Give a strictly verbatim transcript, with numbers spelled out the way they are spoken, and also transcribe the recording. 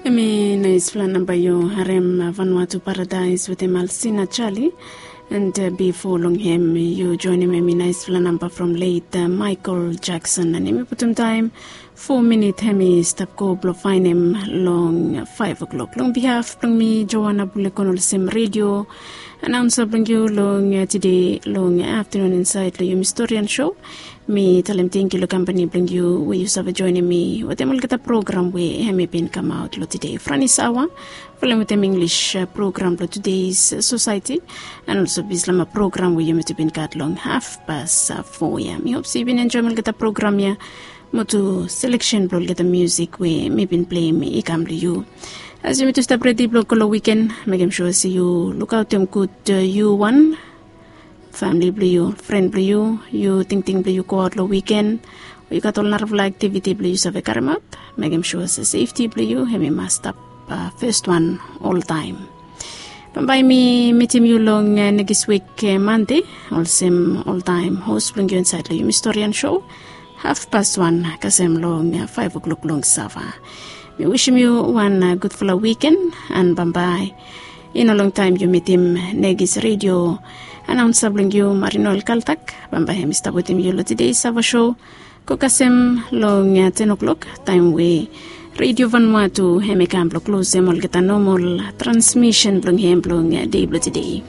Em i naispela namba yu harem, Vanuatu Paradise wetem Alsina Charlie. And bifo long hem yu joinim em i naispela namba from late Michael Jackson. And em i putum taim fo minit hem i stap go blong fainim long five o'clock. Long bihaf blong mi Joana Bulekon olsem redio anaunsa blong yu long tide long aftanun insaed long yumi storian show. Mi talem tengkiu long kampani blong yu we yu save joinim mi wetem olgeta program we hem i bin kamaot long tide franis aoa. Folem wetem English program blong Today's Society. And olso Bislama program we yumi tu bin gat long hafpas fo ya. Mi hop se yu bin enjoim olgeta program ya. Mo tu selection blong olgeta musik we mi bin pleim i kam long yu. As yumi tu stap redi blong go long wiken, mekem sua se yu lukaotem gud yu wan, famili blong yu, fren blong yu, yu tingting blong yu go aot long wiken, o yu gat ol narafala aktiviti blong yu save karemaot, mekem sua se sefti blong yu hem i mas stap fes wan oltaim. Bambae mi mitim yu long nekis wik Mande, olsem oltaim hos blong yu insaed long yumi storian show. Hafpas wan kasem long faef o'klok long sava. Mi wisim yu wan gudfala wiken. And bambae i no longtaim yu mitim nekis redio anaunsa blong yu Marinoel Kaltak. Bambae hem i stap wetem yu long tide sava show. Go kasem long ten o'klok taim we redio Vanuatu hem i kam blong klosem olgeta nomol transmisen blong hem blong dei blong tide.